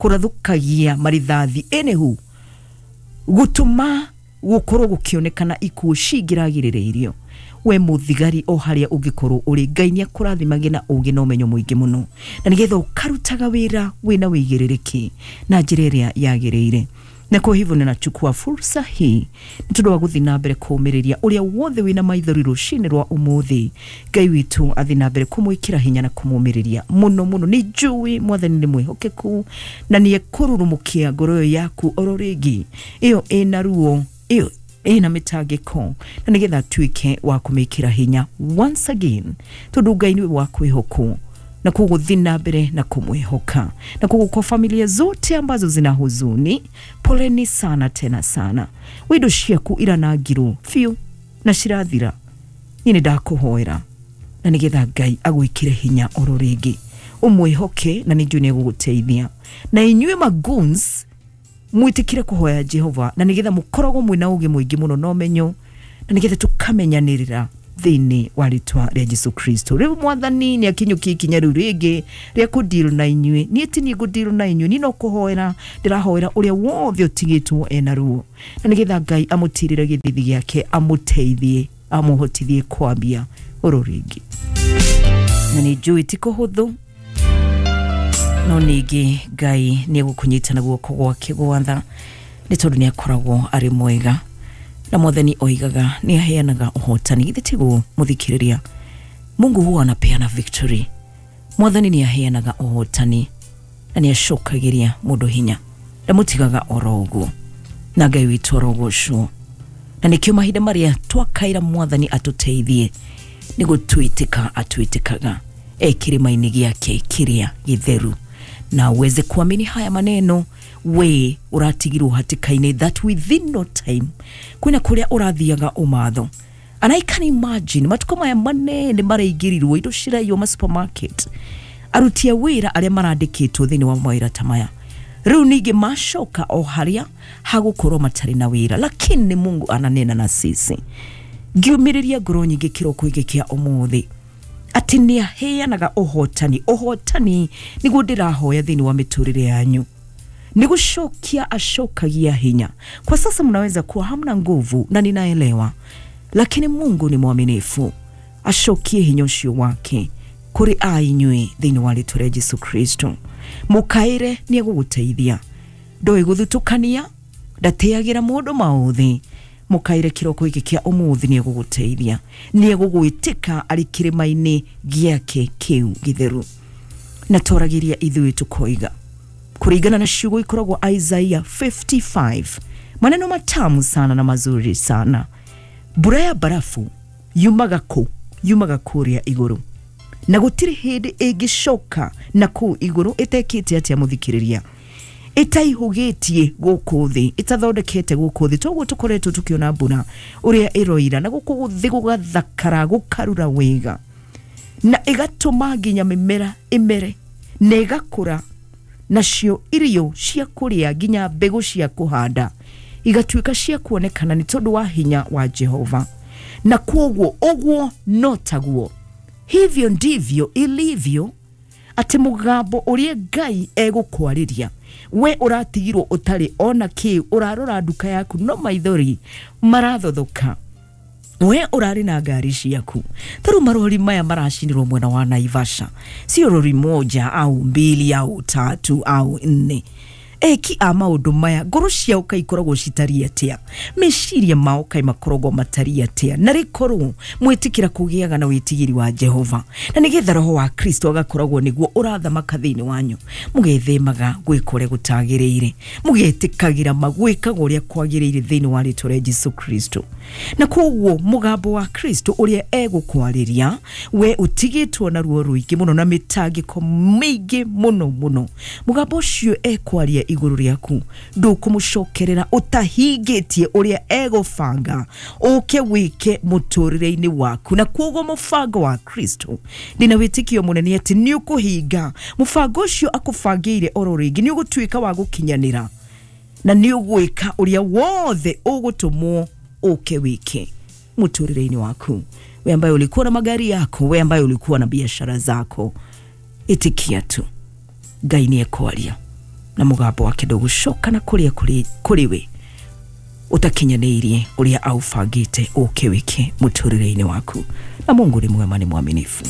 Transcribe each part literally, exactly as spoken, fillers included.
Kũrathũkagia marithathi anywho gũtũma gũkorwo gũkĩonekana ikuũ cingĩragĩrĩrĩirio. We mũthigari o harĩa ũngĩkorwo ũrĩ, Ngai nĩ akũrathimage na ũgĩ na ũmenyo mũingĩ mũno, na nĩgetha ũkarutaga wĩra wĩna wĩigĩrĩrĩki na njĩra ĩrĩa yagĩrĩire. Na kwa hivyo ninachukua fursa hii nĩ tondũ wa gũthiĩ na mbere kũũmĩrĩria ũrĩa wothe wĩna maithori rũcinĩ rwa ũmũthĩ. Ngai witũ athiĩ na mbere kũmwĩkĩra hinya na kũmũmĩrĩria mũno mũno. Nĩ njũĩ Mwathani nĩ mwĩhokeku na nĩ ekũrurumũkia ngoro ĩyo yaku oro rĩngĩ ĩyo ĩna ruo, ĩyo ĩna mĩtangĩko, na nĩgetha atuĩke wa kũmĩkĩra hinya once again, tondũ Ngai nĩwe wa kwĩhokwo na koguo thiĩ na mbere na kumwihoka. Na koguo kwa familia zote ambazo zina huzuni, poleni sana tena sana. Windo ciaku iranangirwo biũ na cirathira, niĩ nĩ ndakũhoera na nĩgetha Ngai agwĩkĩre hinya oro rĩngĩ, ũmwĩhoke na nĩ njũĩ nĩ egũgũteithia. Na inyuĩ magoons mwĩtĩkĩre kũhoya Jehova na nĩgetha mũkoragwo mwĩna ũgĩ mũingĩ mũno na ũmenyo, na nĩgetha tũkamenyanĩrĩra thĩinĩ wa rĩtwa rĩa Jesu Kristo. Rĩu Mwathani nĩ akinyũkia ikinya rĩu rĩngĩ rĩa kũdeal na inyuĩ. Niĩ ti niĩ ngũdeal na inyuĩ, niĩ no kũhoera ndĩrahoera ũrĩa wothe ũtigĩtwo ena ruo, na nĩgetha Ngai amũtirĩre gĩthithi gĩake, amũteithie, amũhotithie kwambia oro rĩngĩ. Na nĩ njũĩ ti kũhũthũ, no ningĩ Ngai nĩ egũkũnyita na guoko gwake gwatha, nĩ tondũ nĩ akoragwo arĩ mwega, na Mwathani oigaga nĩ aheanaga ũhotani. Githĩ tiguo mũthikĩrĩria? Mungu huwa anapeana victory. Mwathani nĩ aheanaga ũhotani na nĩ acokagĩria mũndũ hinya, ndamũtigaga oro ũguo, na Ngai witũ arogocwo. Na nĩkĩo mahinda marĩa twakaira Mwathani atũteithie nĩ gũtwĩtĩka atwĩtĩkaga e kĩrĩma-inĩ gĩake kĩrĩa gĩtheru. Na uweze kuamini haya maneno, we ũratigirwo hatĩka-inĩ that within no time kwĩna kũrĩa ũrathiaga ũmatho. And I can imagine matukũ maya manene maraingĩrirwo indo ciraiywo ma supermarket, aruti a wĩra arĩa marandĩkĩtwo thĩinĩ wa mawĩra ta maya rĩu ningĩ macoka o harĩa hagũkorwo matarĩ na wĩra, lakini Mungu ananena na sisi. Ngiumĩrĩria ngoro nyingĩ kĩroko gĩkĩ kĩa ũmũthĩ atĩ nĩ aheanaga ũhotani. Ũhotani nĩguo ndĩrahoya thĩinĩ wa mĩtũrĩre yanyu, nĩ gũcokia acokagia hinya. Kwa sasa mnaweza kuwa hamna nguvu na ninaelewa, lakini Mungu ni mwaminifu, acokie hinya ũcio wake kũrĩ a inyuĩ thĩinĩ wa rĩtwa rĩa Jesu Kristo. Mũkaĩre nĩ egũgũteithia, ndoĩ gũthutũkania, ndateagĩra mũndũ maũthĩ. Mũkaĩre kĩroko gĩkĩ kĩa ũmũthĩ nĩ egũgũteithia, nĩ egũgwĩtĩka arĩ kĩrĩma-inĩ gĩake kĩu gĩtheru. Na twaragĩria ithuĩ tũkoiga kũringana na ciugo ikoragwo Isaiah fifty-five, maneno matamu sana na mazuri sana. Mbura ya barafu yumaga kũ? Yumaga kũrĩa igũrũ, na gũtirĩ hĩndĩ ĩngĩcoka na kũu igũrũ ĩtekĩte atĩa mũthikĩrĩria, ĩtaihũgĩtie gũkũ thĩ, ĩtathondekete gũkũ thĩ. Toguo tũkoretwo tũkĩona mbura ũrĩa ĩroira na gũkũ thĩ gũgathakara gũkarura wega, na ĩgatũma nginya mĩmera ĩmere na ĩgakũra, nacio irio cia kũrĩa nginya mbegũ cia kũhanda igatuĩka cia kuonekana nĩ tondũ wa hinya wa Jehova. Na kwoguo ũguo no taguo, hivyo ndivyo ilivyo, atĩ mũgambo ũrĩa Ngai egũkwarĩria we ũratigirwo ũtarĩ ona kĩ, ũrarora nduka yaku no maithori marathothoka, we ũrarĩ na ngari ciaku. Tarĩu marori maya maracinirwo mwena wa Naivasha, sio rori moja au mbili au tatu au nne. Eki a maũndũ maya ngoro ciao kaĩ ikoragwo citariĩ atĩa? Meciria mao kaĩ makoragwo matariĩ atĩa? Na rĩkorwo mwĩtĩkĩra kũgĩaga na wĩtigĩri wa Jehova, na nĩgetha roho wa Kristo agakoragwo nĩguo ũrathamaka thĩinĩ wanyu, mũgethemaga gwĩka ũrĩa gũtagĩrĩire, mũgetĩkagĩra magwĩkaga ũrĩa kwagĩrĩire thĩinĩ wa rĩtwa rĩa Jesu Kristo. Na koguo mũgambo wa Kristo ũrĩa egũkwarĩria we ũtigĩtwo na ruo rũingĩ mũno na mĩtangĩko mĩingĩ mũno mũno, mũgambo ũcio ekwaria igũrũ rĩaku ndũkũmũcokerera ũtahingĩtie ũrĩa egũbanga ũke wĩke mũtũrĩre-inĩ waku. Na koguo mũbango wa Kristo ndĩna wĩtĩkio mũnene atĩ nĩ ũkũhinga mũbango ũcio akũbangĩire oro rĩngĩ, nĩ ũgũtuĩka wa gũkinyanĩra na nĩ ũgwĩka ũrĩa wothe ũgũtũmwo ũke wĩke mũtũrĩre-inĩ waku. We ambaye ulikuwa na magari yako, we ambaye ulikuwa na biashara zako, itikia tu Ngai nĩ ekwaria. Na mũgambo wake ndũgũcoka na kũrĩa kũrĩ we ũtakinyanĩirie ũrĩa aũbangĩte ũke wĩke mũtũrĩre-inĩ waku. Na Mungu nĩ mwema, nĩ mwaminifu.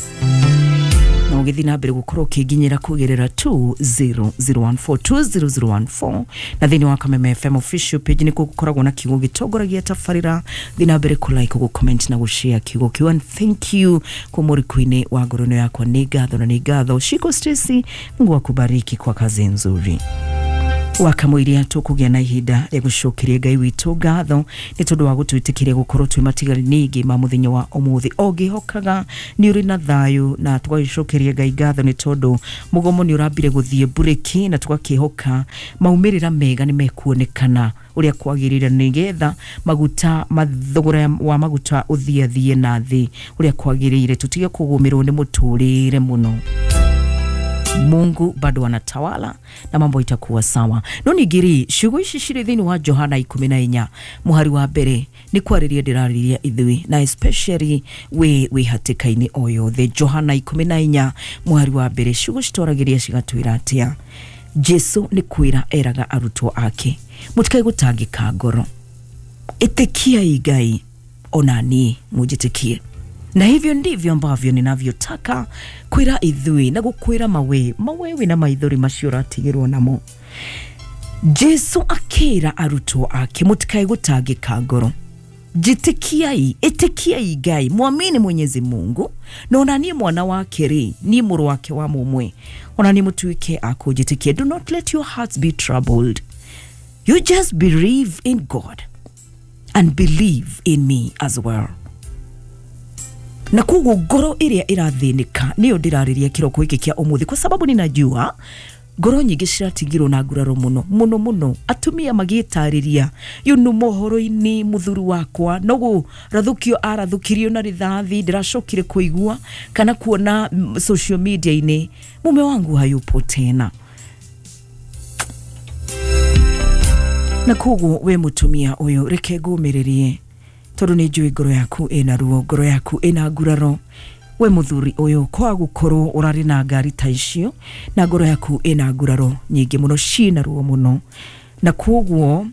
Na ũgĩthiĩ na mbere gũkorwo ũkĩnginyĩra kũgerera two zero zero one four two zero zero one four na thĩinĩ wa Kameme F M official page nĩkuo gũkoragwo na kiugo gĩtongoragia tabarĩra. Thiĩ na mbere kũ like, gũ comment na gũ share kiugo kĩu. And thank you kwa mũrikũ-inĩ wa ngoro ĩno yakwa, nĩ ngatho na nĩ ngatho. Shiko Stacy, Mungu akubariki kwa kazi nzuri. Wakamũiria tũkũgĩa na ihinda rĩa gũcokeria Ngai witũ ngatho nĩ tondũ wa gũtwĩtĩkĩria gũkorwo twĩ matigari ningĩ ma mũthenya wa ũmũthĩ. O ngĩhokaga nĩ ũrĩ na thayũ, na tũgagĩcokeria Ngai ngatho nĩ tondũ mũgomo nĩ ũrambire gũthiĩ mburĩki, na tũgakĩhoka maumĩrĩra mega nĩ mekuonekana ũrĩa kwagĩrĩire, nĩgetha maguta mathogora wa maguta ũthiathiĩ na thĩ ũrĩa kwagĩrĩire, tũtige kũgũmĩrwo nĩ mũtũrĩre mũno. Mungu bado anatawala na mambo itakuwa sawa. No ningĩ ciugo ici cirĩ thĩinĩ wa Johana ikũmi na inya mũhari wa mbere nĩ kwarĩria ndĩrarĩria ithuĩ, na especially we wĩ hatĩka-inĩ o yothe. Johana ikũmi na inya mũhari wa mbere, ciugo citwaragĩria cigatwĩra atĩa? Jesu nĩ kwĩra eraga arutwo ake, mũtikae gũtangĩka ngoro, ĩtĩkiai Ngai ona niĩ mũnjĩtĩkie. Na hivyo ndivyo ambavyo ninavyotaka kwira ithui na gukwira mawe mawe wina maithori macio ũratigĩrwo namo. Jesu akĩra arutwo ake, mũtikae gũtangĩka ngoro, jitikiai, ĩtĩkiai Ngai, mwamini Mwenyezi Mungu, na ona niĩ mwana wake rĩ, niĩ mũrũ wake wa mũmwe, ona niĩ mũtuĩke a kũnjĩtĩkia. Do not let your hearts be troubled. You just believe in God and believe in me as well. Na koguo ngoro ĩrĩa ĩrathĩnĩka nĩyo ndĩrarĩria kĩroko gĩkĩ kĩa ũmũthĩ, kwa sababu ninajua ngoro nyingĩ ciratigirwo na nguraro mũno mũno mũno, atumia magĩtarĩria yunu mohoro-inĩ, mũthuri wakwa no gũrathũkio arathũkirio na rithathi, ndĩracokire kũigua kana kuona social media-inĩ mume wangu hayupo tena. Na koguo we mũtumia ũyũ, reke ngũmĩrĩrie tondũ nĩ njũĩ ngoro yaku ĩna ruo, ngoro yaku ĩna nguraro. We mũthuri ũyũ, kwa gũkorwo ũrarĩ na ngari ta icio na ngoro yaku ĩna nguraro nyingĩ mũno, ciĩna ruo mũno, na koguo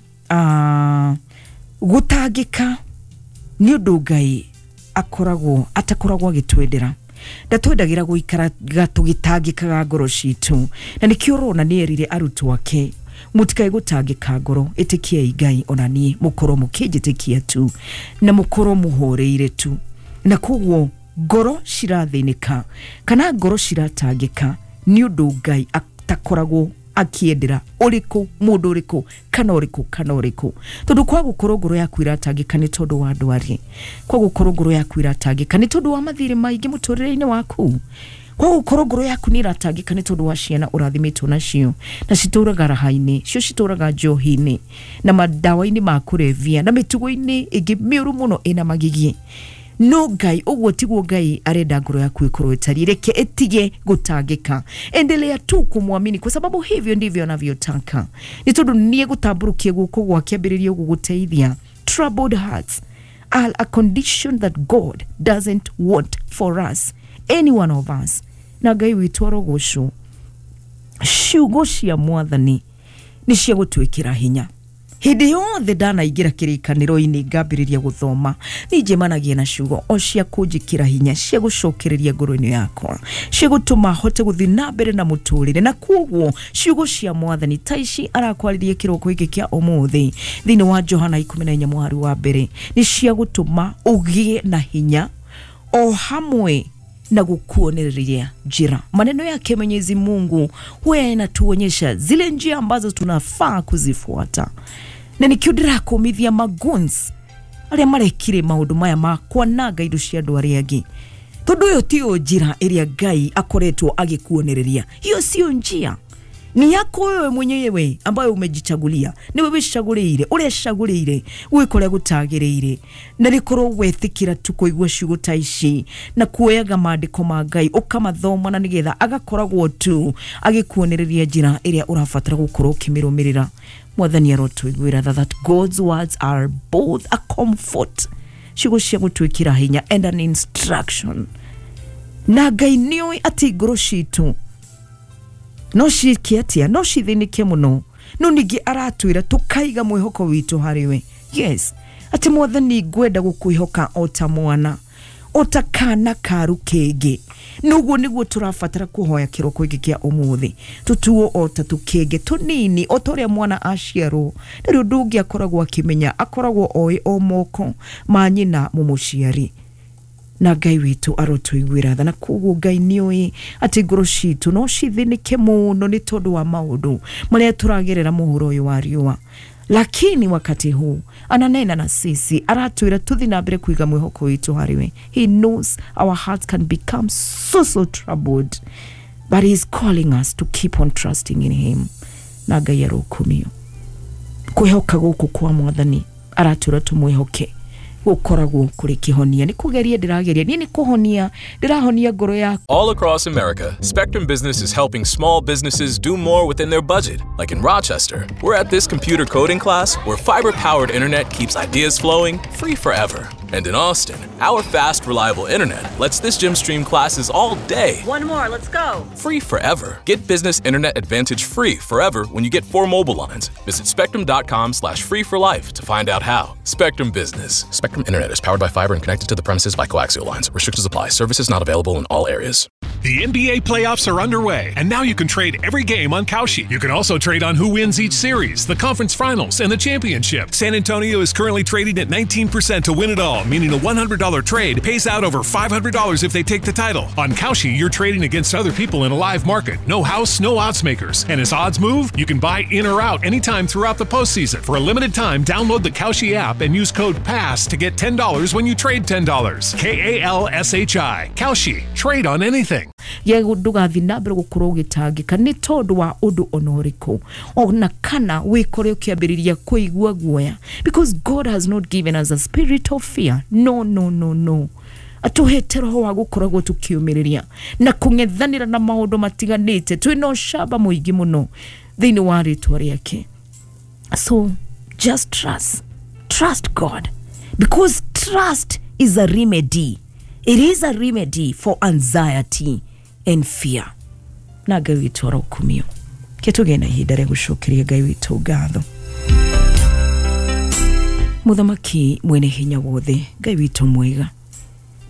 gũtangĩka nĩ ũndũ Ngai akoragwo atakoragwo agĩtwendera. Ndatwendagĩra gũikaraga tũgĩtangĩkaga ngoro citũ, na nĩkĩo ũrona nĩ erire arutwo ake, mũtikae gũtangĩka ngoro, ĩtĩkiai Ngai ona niĩ mũkorwo mũkĩnjĩtĩkia tu na mũkorwo mũhoreire tu. Na koguo ngoro cirathĩnĩka kana ngoro ciratangĩka nĩ ũndũ Ngai atakoragwo akĩendera ũrĩkũ mũndũ ũrĩkũ kana ũrĩkũ kana ũrĩkũ. Tondũ kwa gũkorwo ngoro yaku iratangĩka nĩ tondũ wa ndwari, kwa gũkorwo ngoro yaku iratangĩka nĩ tondũ wa mathirĩ maingĩ mũtũrĩre-inĩ waku, kwa gũkorwo ngoro yaku nĩ iratangĩka nĩ tondũ wa ciana ũrathimĩtwo nacio na citũraga raha-inĩ, cio citũraga njohi-inĩ na madawa-inĩ ma kũrebia na mĩtugo-inĩ ĩngĩ mĩũru mũno ĩna magigi. No Ngai, ũguo tiguo Ngai arenda ngoro yaku ĩkorwo ĩtariĩ. Reke ĩtige gũtangĩka, endelea tu kumwamini kwa sababu hivyo ndivyo anavyotaka. Nĩ tondũ nĩ egũtambũrũkia guoko gwake ambĩrĩrie gũgũteithia. Troubled hearts are a condition that God doesn't want for us, any one of us. Na Ngai witũ arogocwo. Ciugo cia Mwathani nĩ cia gũtwĩkĩra hinya. Hĩndĩ yothe ndanaingĩra kĩrĩkanĩro-inĩ ngambĩrĩria gũthoma, nĩ njemanagia na ciugo o cia kũnjĩkĩra hinya, cia gũcokereria ngoro-inĩ yakwa, cia gũtũma hote gũthiĩ na mbere na mũtũrĩre. Na koguo ciugo cia Mwathani ta ici arakwarĩria kĩroko gĩkĩ kĩa ũmũthĩ thĩinĩ wa Johana ikũmi na inya mũhari wa mbere nĩ cia gũtũma ũgĩe na hinya o hamwe na kukuonereria njira. Maneno yake Mwenyezi Mungu huwa yanatuonyesha zile njia ambazo tunafaa kuzifuata. Na nikio ndĩrakomithia maguns arĩa marekire maũndũ maya ma kwananga indo cia andũ arĩa angĩ, tondũ ĩyo tiyo njĩra ĩrĩa Ngai akoretwo agĩkuonereria. Hiyo sio njia, ni yako wewe mwenyewe ambayo umejichagulia, niwe wicagũrĩire ũrĩa cagũrĩire gwĩka ũrĩa gũtagĩrĩire. Na rĩkorwo wetĩkĩra tu kũigua ciugo ta ici na kuoyaga maandĩko ma Ngai ũkamathoma, na nĩgetha agakoragwo tu agĩkuonereria njĩra ĩrĩa ũrabatara gũkorwo ũkĩmĩrũmĩrĩra. Mwathani arotũiguĩra tha, that God's words are both a comfort, ciugo cia gũtwĩkĩra hinya, and an instruction. Na Ngai nĩoĩ atĩ ngoro citũ No ciĩke atĩa? No cithĩnĩke mũno, no ningĩ aratwĩra tũkaiga mwĩhoko witũ harĩ we. Yes, atĩ Mwathani, ngwenda gũkwĩhoka o ta mwana, o ta kana ka rũkenge. Noguo nĩguo tũrabatara kũhoya kĩroko gĩkĩ kĩa ũmũthĩ, tũtuo o ta tũkenge tũnini, o ta ũrĩa mwana aciarwo ndarĩ ũndũ ũngĩ akoragwo akĩmenya, akoragwo oĩ o moko ma nyina mũmũciari. Na Ngai witũ arotũiguĩra tha. Na koguo Ngai nĩoĩ atĩ ngoro citũ no cithĩnĩke mũno nĩ tondũ wa maũndũ marĩa tũragerera mũhuro ũyũ wa riũa, lakini wakati huu ananena na sisi, aratwĩra tuthi na mbere kuiga mwĩhoko witũ harĩ we. He knows our hearts can become so so troubled, but he is calling us to keep on trusting in him. Na Ngai arokumio. Kwĩhoka gũkũ kwa Mwathani aratwĩra tũmwĩhoke gũkoragwo kũrĩ kĩhonia. Nĩ kũgeria ndĩrageria niĩ, nĩ kũhonia ndĩrahonia ngoro yaku. All across America, Spectrum Business is helping small businesses do more within their budget. Like in Rochester, we're at this computer coding class where fiber powered internet keeps ideas flowing free forever. And in Austin, our fast, reliable internet lets this gym stream classes all day. One more, let's go. Free forever. Get business internet advantage free forever when you get four mobile lines. Visit spectrum dot com slash free for life to find out how. Spectrum Business. Spectrum Internet is powered by fiber and connected to the premises by coaxial lines. Restrictions apply. Services not available in all areas. The N B A playoffs are underway, and now you can trade every game on Kalshi. You can also trade on who wins each series, the conference finals, and the championship. San Antonio is currently trading at nineteen percent to win it all, meaning a one hundred dollar trade pays out over five hundred dollars if they take the title. On Kalshi, you're trading against other people in a live market. No house, no odds makers. And as odds move, you can buy in or out anytime throughout the postseason. For a limited time, download the Kalshi app and use code PASS to get ten dollars when you trade ten dollars. K A L S H I. Kalshi. Trade on anything. Ya ndũgathiĩ na mbere gũkorwo ũgĩtangĩka nĩ tondũ wa ũndũ ona ũrĩkũ, ona kana wĩkore ũkĩambĩrĩria kũigua guoya, because God has not given us a spirit of fear. No, no, no, no. Atũhete roho wa gũkoragwo tũkĩũmĩrĩria na kũng'ethanĩra na maũndũ matiganĩte twĩna ũcamba mũingĩ mũno thĩinĩ wa rĩtwa rĩake. So just trust trust God, because trust is a remedy. It is a remedy for anxiety and fear. Na Ngai witũ arokumio. Ke tũgĩe na ihinda rĩa gũcokeria Ngai witũ ngatho. Mũthamaki mwene hinya wothe, Ngai witũ mwega,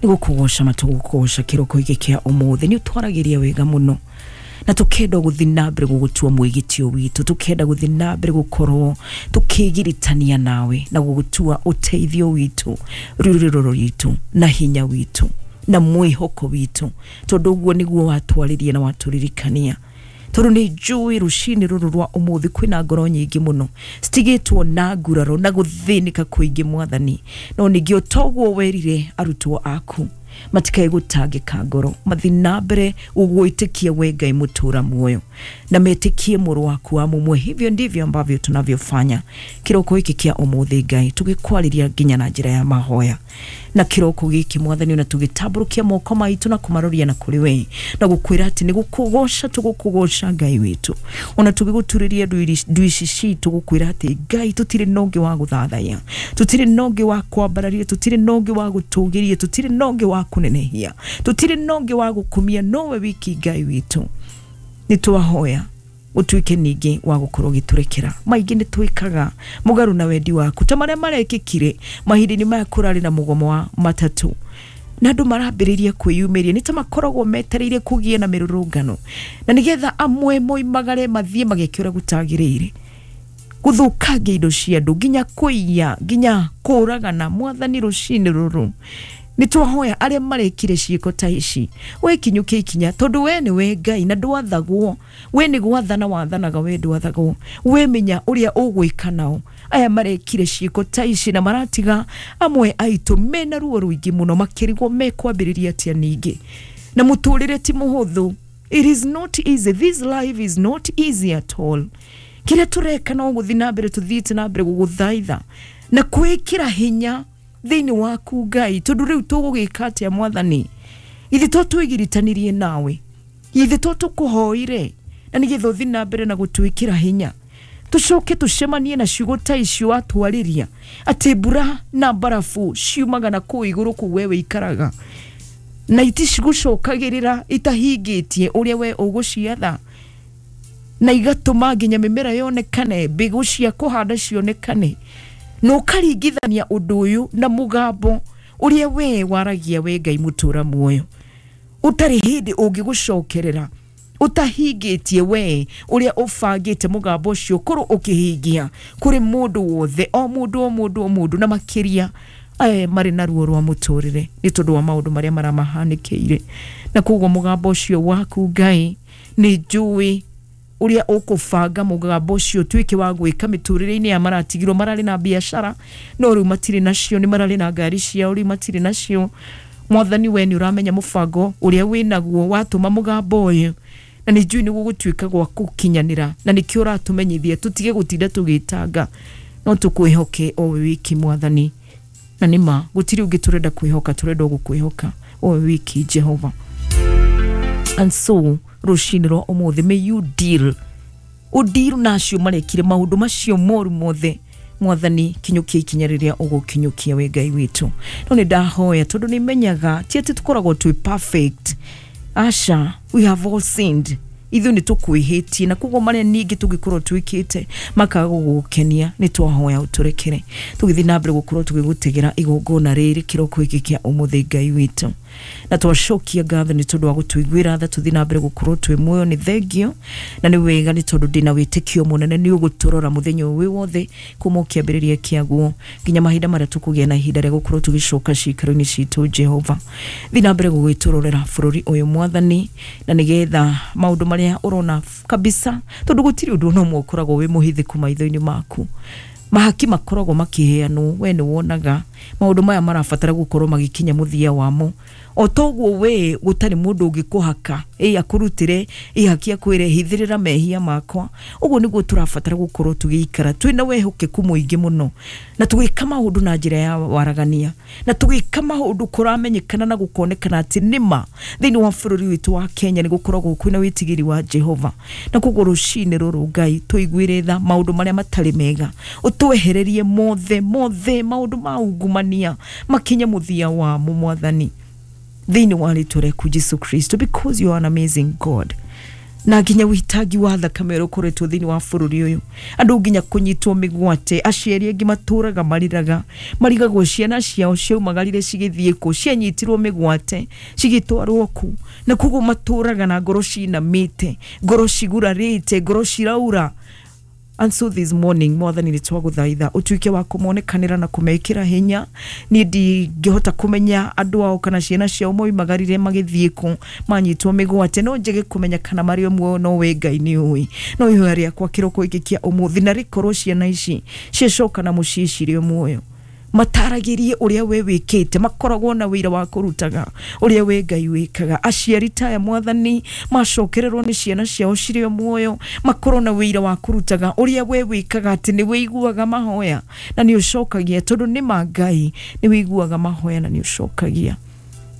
nĩ gũkũgoca matũgũkũgoca kĩroko gĩkĩ kĩa ũmũthĩ. Nĩ ũtwaragĩria wega mũno, na tukenda gũthiĩ na mbere gũgũtua mwĩgitio witũ, tukenda gũthiĩ na mbere gũkorwo tũkĩgiritania nawe na gũgũtua ũteithio witũ, rũrĩrĩ rwitũ na hinya witũ na mwĩhoko witũ, tondũ ũguo nĩguo watwarĩria na watũririkania. Tondũ nĩ njũĩ rũcinĩ rũrũ rwa ũmũthĩ kwĩna ngoro nyingĩ mũno citigĩtwo na nguraro na gũthĩnĩka kũingĩ, Mwathani, no ningĩ o toguo werire arutwo aku matikae gũtangĩka ngoro, mathiĩ na mbere gũgwĩtĩkia we Ngai mũtũra muoyo, na metĩkie mũrũ waku wa mũmwe. Hivyo ndivyo ambavyo tunavyofanya kĩroko gĩkĩ kĩa ũmũthĩ, Ngai, tũgĩkwarĩria nginya na njĩra ya mahoya na kĩroko gĩkĩ, Mwathani, na tũgĩtambũrũkia moko maitũ na kũmaroria na kũrĩ we na gũkwĩra atĩ nĩ gũkũgoca tũgũkũgoca, Ngai witũ, ona tũgĩgũturĩria ndu ici citũ gũkwĩra atĩ Ngai, tũtirĩ na ũngĩ wa gũthathaiya, tũtirĩ na ũngĩ wa kwambararia, tũtirĩ na ũngĩ wa gũtũgĩria, tũtirĩ na ũngĩ wa kũnenehia, tũtirĩ na ũngĩ wa gũkumia nowe wiki. Ngai witũ, nĩ twahoya ũtuĩke ningĩ wa gũkorwo ũgĩtũrekera maingĩ nĩ twĩkaga mũgarũ na wendi waku, ta marĩa marekĩkire mahinda-inĩ maya kũrarĩ na mũgomo wa matatũ na andũ marambĩrĩria kwĩyumĩria, nĩ ta makoragwo metereire kũgĩe na mĩrũrũngano na nĩgetha amwe moimagare mathiĩ mageke ũrĩa gũtagĩrĩire, gũthũkangia indo cia andũ, nginya kũiya, nginya kũragana. Mwathani, rũcinĩ rũrũ nĩ twahoya arĩa marekire ciĩko ta ici we kinyũkia ikinya, tondũ we nĩ we Ngai na ndwathagwo. We nĩ gwathana wathanaga, we ndwathagwo. We menya ũrĩa ũgwĩka nao aya marekire ciĩko ta ici na maratiga amwe aitũ mena ruo rũingĩ mũno, makĩrigwo mekwambĩrĩria atĩa ningĩ na mũtũrĩre ti mũhũthũ. It is not easy. This life is not easy at all. Kĩrĩa tũreka no gũthiĩ na mbere tũthiĩte na mbere gũgũthaitha na kwĩkĩra hinya thĩinĩ waku, Ngai, tondũ rĩu tũgũgĩka atĩa, Mwathani? Ithe to twĩgiritanirie nawe, ithe to tũkũhoire na nĩgetha ũthiĩ na mbere na gũtwĩkĩra hinya, tũcoke tũcemanie na ciugo ta icio watwarĩria atĩ mbura na mbarabu ciumaga na kũu igũrũ kũu we wĩikaraga na iticigũcokagĩrĩra itahingĩtie ũrĩa we ũgũciatha. na igatũma nginya mĩmera yonekane, mbegũ cia kũhanda cionekane, na ũkaringithania ũndũ ũyũ na mũgambo ũrĩa we waragia we Ngai mũtũra muoyo, ũtarĩ hĩndĩ ũngĩgũcokerera, ũtahingĩtie we ũrĩa ũbangĩte mũgambo ũcio ũkorwo ũkĩhingia kũrĩ mũndũ wothe, o mũndũ o mũndũ o mũndũ, na makĩria aya marĩ na ruo rwa mũtũrĩre nĩ tondũ wa maũndũ marĩa maramahanĩkĩire. Na koguo mũgambo ũcio waku Ngai nĩ njũĩ ũrĩa ũkũbanga mũgambo ũcio ũtuĩke wa gwĩka mĩtũrĩre-inĩ ya maratigirwo, mararĩ na biacara no rĩu matirĩ nacio, nĩ mararĩ na ngari ciao rĩu matirĩ nacio. Mwathani we nĩ ũramenya mũbango ũrĩa wĩnaguo watũma mũgambo ũyũ, na nĩ njũĩ nĩ gũgũtuĩka gwa gũkinyanĩra, na nĩkĩo ũratũmenyithia tũtige gũtinda tũgĩtanga, no tũkwĩhoke o we wiki Mwathani. Na nĩ ma gũtirĩ ũngĩ tũrenda kwĩhoka, tũrenda o gũkwĩhoka o we wiki Jehova. And so rũcinĩ rwa ũmũthĩ, may you deal ũndiru na acio marekire maũndũ macio moru mothe. Mwathani, kinyũkia ikinya rĩrĩa ũgũkinyũkia we Ngai witũ. No nĩ ndahoya tondũ nĩ menyaga ti atĩ tũkoragwo twĩ perfect, aca, we have all sinned, ithuĩ nĩ tũkwĩhĩtie, na koguo marĩa ningĩ tũngĩkorwo twĩkĩte makaga gũgũkenia, nĩ twahoya ũtũrekere tũgĩthiĩ na mbere gũkorwo tũgĩgũtegera igongona rĩrĩ kĩroko gĩkĩ kĩa ũmũthĩ Ngai witũ. Na twacokia ngatho nĩ tondũ wa gũtũiguĩra tha tũthiĩ na mbere gũkorwo twĩ muoyo, nĩ thengio na nĩ wega nĩ tondũ ndĩna wĩtĩkio mũnene nĩ ũgũtũrora mũthenya ũyũ wĩ wothe kuma kĩambĩrĩria kĩaguo nginya mahinda marĩa tũkũgĩa na ihinda rĩa gũkorwo tũgĩcoka ciikaro-inĩ citũ. Jehova, thiĩ na mbere gũgĩtũrorera bũrũri ũyũ Mwathani, na nĩgetha maũndũ marĩa ũrona kabisa, tondũ gũtirĩ ũndũ ona ũmwe ũkoragwo wĩ mũhithĩku maitho-inĩ maku, mahaki makoragwo makĩheanwo, we nĩ wonaga maũndũ maya marabatara gũkorwo magĩkinya mũthia wamo. O toguo we gũtarĩ mũndũ ũngĩkũhaka ĩ akũrutĩre ihaki akwĩre hithĩrĩra mehia makwa, ũguo nĩguo tũrabatara gũkorwo tũgĩikara twĩna wĩhokeku mũingĩ mũno, na tũgĩka maũndũ na njĩra ya waragania, na tũgĩka maũndũ kũramenyekana na gũkonekana atĩ nĩma thĩinĩ wa bũrũri witũ wa Kenya nĩ gũkoragwo kwĩna wĩtigĩri wa Jehova. Na koguo rũcinĩ rũrũ Ngai tũiguĩre tha maũndũ marĩa matarĩ mega, ũtwehererie mothe mothe maũndũ ma ungumania makinye mũthia wamo Mwathani, thĩinĩ wa rĩtwa rĩaku Jesu Kristo, because you are an amazing God. Na nginya wĩitangi wa thakame ũrĩa ũkoretwo thĩinĩ wa bũrũri ũyũ, andũ nginya kũnyitwo mĩgwate, aciari angĩ matũraga mariraga, marigagwo ciana ciao ciaumagarire cigĩthiĩ kũ, cianyitirwo mĩgwate cigĩtwarwo kũ, na koguo matũraga na ngoro cinamĩte, ngoro cigurarĩte, ngoro ciraura. And so this morning, Mwathani nĩ twagũthaitha ũtuĩke wa kũmonekanĩra na kũmekĩra hinya. Niĩ ndingĩhota kũmenya andũ ao kana ciana ciao moimagarire magĩthiĩ kũ, manyitwo mĩgwate, no njage kũmenya kana marĩ o muoyo, no we Ngai nĩ ũĩ. No ihoya rĩakwa kĩroko gĩkĩ kĩa ũmũthĩ, na rĩkorwo ciana ici ciacoka na mũciĩ cirĩ o muoyo, mataragĩrie ũrĩa we wĩkĩte, makoragwo na wĩra wa kũrutaga ũrĩa we Ngai wĩkaga. Aciari taya Mwathani macokererwo nĩ ciana ciao cirĩ o muoyo, makorwo na wĩra wa kũrutaga ũrĩa we wĩkaga, atĩ nĩ wĩiguaga mahoya na nĩ ũcokagia, tondũ nĩ ma Ngai nĩ wĩiguaga mahoya na nĩ ũcokagia.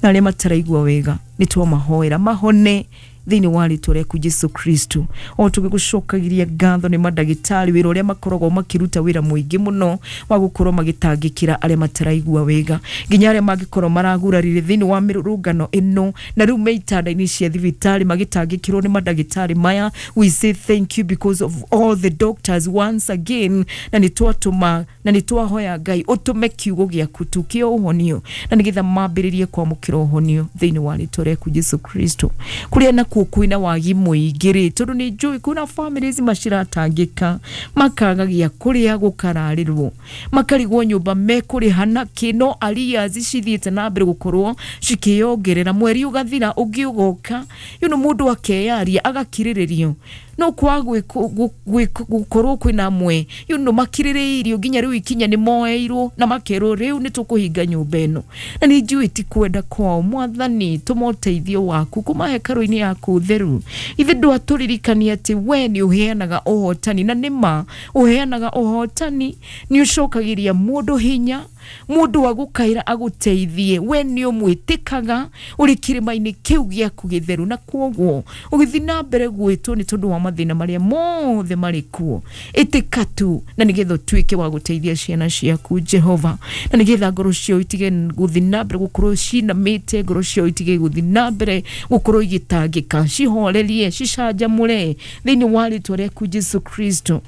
Na arĩa mataraigua wega nĩ twamahoera mahone thĩinĩ wa rĩtwa rĩaku Jesu Kristo. O tũgĩgũcokagiria ngatho nĩ mandagĩtarĩ wĩra ũrĩa makoragwo makĩruta wĩra mũingĩ mũno wa gũkorwo magĩtangĩkĩra arĩa mataraigua wega, nginya arĩa mangĩkorwo maragurarire thĩinĩ wa mĩrũrũngano ĩno na rĩu me itanda-inĩ cia thibitarĩ magĩtangĩkĩrwo nĩ mandagĩtarĩ maya. We say thank you because of all the doctors once again, na nĩ twatũma na nĩ twahoya Ngai ũtũme kiugo gĩaku tu kĩa ũhonio, na nĩgetha mambĩrĩrie kwamũkĩra ũhonio thĩinĩ wa rĩtwa rĩaku Jesu Kristo. Kũrĩa nakuo kwĩna wagi mũingĩ rĩ, tondũ nĩ njũĩ kwĩna families maciratangĩka, makaga gĩa kũrĩa, gũkararĩrwo, makarigwo nyũmba mekũrĩha nakĩ, no arrears cithiĩte na mbere gũkorwo cikĩyongerera, mweri ũgathira ũngĩ ũgoka, you know, mũndũ akeyaria agakirĩrĩrio, no kwa gũkorwo kwĩna amwe you know, makirĩrĩirio nginya rĩu ikinya nĩ moeirwo na makerwo rĩu nĩ tũkũhinga nyũmba ĩno, na nĩ njũĩ ti kwenda kwao. Mwathani, tũma ũteithio waku kuma hekarũ-inĩ yaku theru. Ithe ndwatũririkania atĩ we nĩ ũheanaga ũhotani, na nĩ ma ũheanaga ũhotani, nĩ ũcokagĩria mũndũ hinya, mũndũ wa gũkaĩra agũteithie, we nĩ ũmwĩtĩkaga ũrĩ kĩrĩma-inĩ kĩu gĩaku gĩtheru, na kwoguo ũgĩthiĩ na mbere gwĩtwo nĩ tondũ wa mathĩna marĩa mothe marĩ kuo. Ĩtĩka tu na nĩgetha ũtuĩke wa gũteithia ciana ciaku Jehova, na nĩgetha ngoro ciao itige gũthiĩ na mbere gũkorwo cinamĩte, ngoro ciao itige gũthiĩ na mbere gũkorwo igĩtangĩka, cihorerie, cicanjamũre thĩinĩ wa rĩtwa rĩaku Jesu Kristo.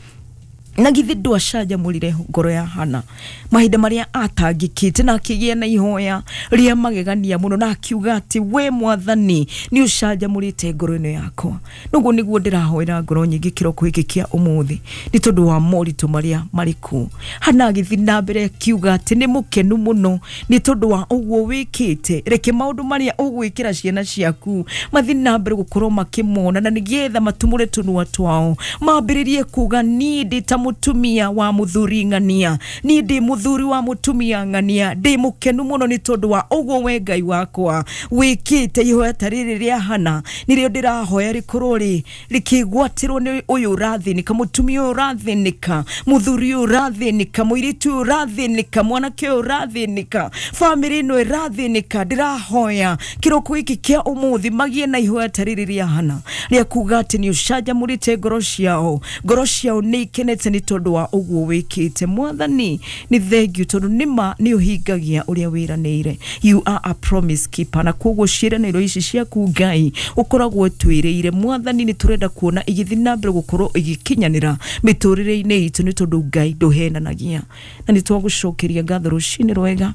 Na githĩ ndwacanjamũrire ngoro ya Hana mahinda marĩa atangĩkĩte, na akĩgĩa na ihoya rĩa magegania mũno, na akiuga atĩ we Mwathani nĩ ũcanjamũrĩte ngoro ĩno yakwa. Noguo nĩguo ndĩrahoera ngoro nyingĩ kĩroko gĩkĩ kĩa ũmũthĩ nĩ tondũ wa moritũ marĩa marĩ kuo. Hana agĩthiĩ na mbere akiuga atĩ nĩ mũkenu mũno nĩ tondũ wa ũguo wĩkĩte. Reke maũndũ marĩa ũgwĩkĩra ciana ciaku mathiĩ na mbere gũkorwo makĩmona, na nĩgetha matumũre tũnua twao mambĩrĩrie kuga niĩ ndĩ ta mutumia wa muthuri ng'ania, niĩ ndĩ muthuri wa mutumia ng'ania, ndĩ mũkenu mũno nĩ tondũ wa ũguo we Ngai wakwa wĩkĩte. Ihoya ta rĩrĩ rĩa Hana nĩrĩo ndĩrahoya rĩkorwo rĩ rĩkĩgwatĩrwo nĩ ũyũ ũrathĩnĩka, mũtumia ũyũ ũrathĩnĩka, mũthuri ũyũ ũrathĩnĩka, mũirĩtu ũyũ ũrathĩnĩka, mwanake ũyũ ũrathĩnĩka, bamĩrĩ ĩno ĩrathĩnĩka. Ndĩrahoya kĩroko gĩkĩ kĩa ũmũthĩ magĩe na ihoya ta rĩrĩ rĩa Hana rĩa kuga atĩ nĩ ũcanjamũrĩte ngoro ciao, ngoro ciao nĩ ikenete nĩ tondũ wa ũguo wĩkĩte. Mwathani nĩ thengiũ tondũ nĩma nĩ ũhingagia ũrĩa wĩranĩire. You are a promise keeper, na koguo ciĩranĩro ici ciaku Ngai ũkoragwo twĩrĩire. Mwathani nĩ tũrenda kuona igĩthiĩ na mbere gũkorwo igĩkinyanĩra mĩtũrĩre-inĩ itũ nĩ tondũ Ngai ndũhenanagia. Na nĩ twagũcokeria ngatho rũcinĩ rwega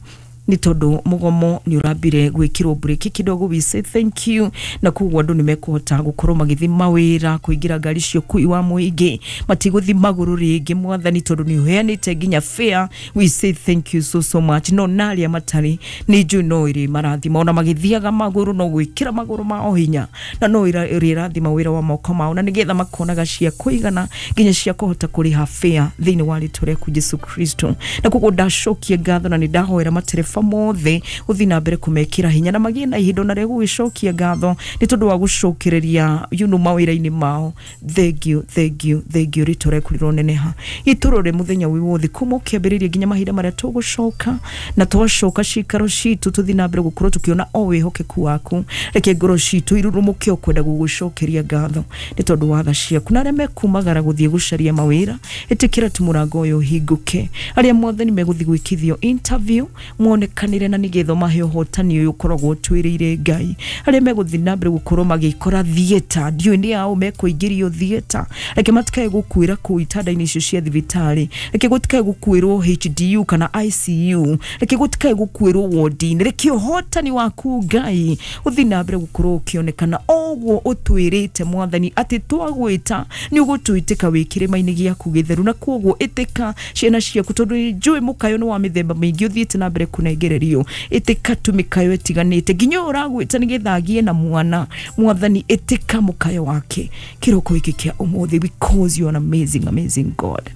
nĩ tondũ mũgomo nĩ ũrambire gwĩkĩrwo breki kidogo, we say thank you. Na koguo andũ nĩ mekũhota gũkorwo magĩthiĩ mawĩra, kũingĩra ngari cia ũkui wa mũingĩ, matigũthiĩ magũrũ rĩngĩ Mwathani tondũ nĩ ũheanĩte nginya fare. We say thank you so so much. No na arĩa matarĩ nĩ njũĩ no ĩrĩ marathima, ona magĩthiaga magũrũ no gwĩkĩra magũrũ mao hinya, na no ĩrĩ wĩra wa moko mao, na nĩgetha makonaga cia kũigana nginya cia kũhota kũrĩha fare thĩinĩ wa rĩtwa rĩaku Jesu Kristo. Na koguo ndacokia ngatho na nĩ ndahoera matereba mothe uthi na mbere kumekira hinya na magie na ihinda na rĩa gũgĩcokia ngatho nĩ tondũ wa gũcokereria you know mawĩra-inĩ mao. Thank you, thank you, thank you. Rĩtwa rĩaku rĩroneneha gĩtũrore mũthenya wĩ wothe kuma ũkĩambĩrĩria nginya mahinda marĩa tũgũcoka, na twacoka cikaro citũ tũthiĩ na mbere gũkorwo tũkĩona o wĩhokeku waku. Reke ngoro citũ irurumũke o kwenda gũgũcokeria ngatho nĩ tondũ wa tha ciaku. Na arĩa mekumagara gũthiĩ gũcaria mawĩra, ĩtĩkĩra tu mũrango ũyũ ũhingũke. Arĩa Mwathani megũthiĩ gwĩkithio interview mone kanire na nĩgetha mahe ũhotani ũyũ ũkoragwo ũtwĩrĩire Ngai. Arĩa megũthiĩ na mbere gũkorwo magĩkora theatre, ndiũĩ nĩ ao mekũingĩrio theatre, reke matikae gũkuĩra kũu itanda-inĩ icio cia thibitarĩ, reke gũtikae gũkuĩrwo H D U kana I C U, reke gũtikae gũkuĩrwo ward-inĩ. Reke ũhotani waku Ngai ũthiĩ na mbere gũkorwo ũkĩonekana ũguo ũtwĩrĩte Mwathani atĩ twagwĩta nĩ ũgũtwĩtĩka wĩ kĩrĩma-inĩ gĩaku gĩtheru. Na koguo ĩtĩka ciana ciaku tondũ njũĩ mũkayo nĩ wa mĩthemba mĩingĩ ũthiĩte na mbere kũnengererio. Ĩtĩka tu mĩkayo ĩtiganĩte nginya ũyũ ũragwĩta nĩgetha agĩe na mwana. Mwathani ĩtĩka mũkayo wake kĩroko gĩkĩ kĩa ũmũthĩ, because you are an amazing, amazing God.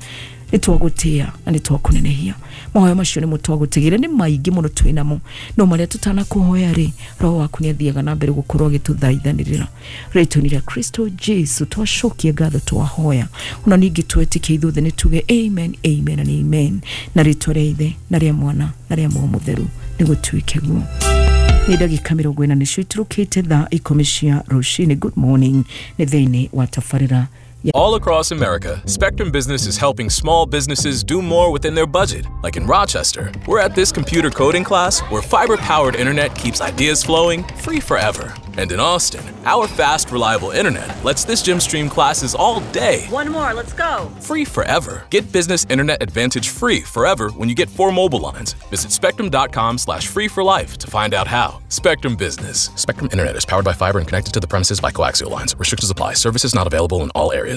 Nĩ twagũtĩa na nĩ twakũnenehia. Mahoya macio nĩmo twagũtigĩra, nĩ maingĩ mũno twĩ namo, no marĩa tũtanakũhoya rĩ, Roho waku nĩ athiaga na mbere gũkorwo agĩtũthaithanĩrĩra. Rĩtwa-inĩ rĩa Kristo Jesu twacokia ngatho twahoya, ona ningĩ twetĩkia ithuothe nĩ tuge amen, amen and amen. Na rĩtwa rĩa Ithe na rĩa Mwana na rĩa Muoyo Mũtheru nĩ gũtuĩke guo. Nĩ ndagĩka mĩrongo ĩna nĩcio iturũkĩte thaa ikũmi cia rũcinĩ. Good morning nĩ thĩinĩ wa tabarĩra. Yeah. All across America, Spectrum Business is helping small businesses do more within their budget. Like in Rochester, we're at this computer coding class where fiber-powered internet keeps ideas flowing free forever. And in Austin, our fast, reliable internet lets this gym stream classes all day. One more, let's go. Free forever. Get business internet advantage free forever when you get four mobile lines. Visit spectrum.com slash free for life to find out how. Spectrum Business. Spectrum Internet is powered by fiber and connected to the premises by coaxial lines. Restrictions apply. Services not available in all areas.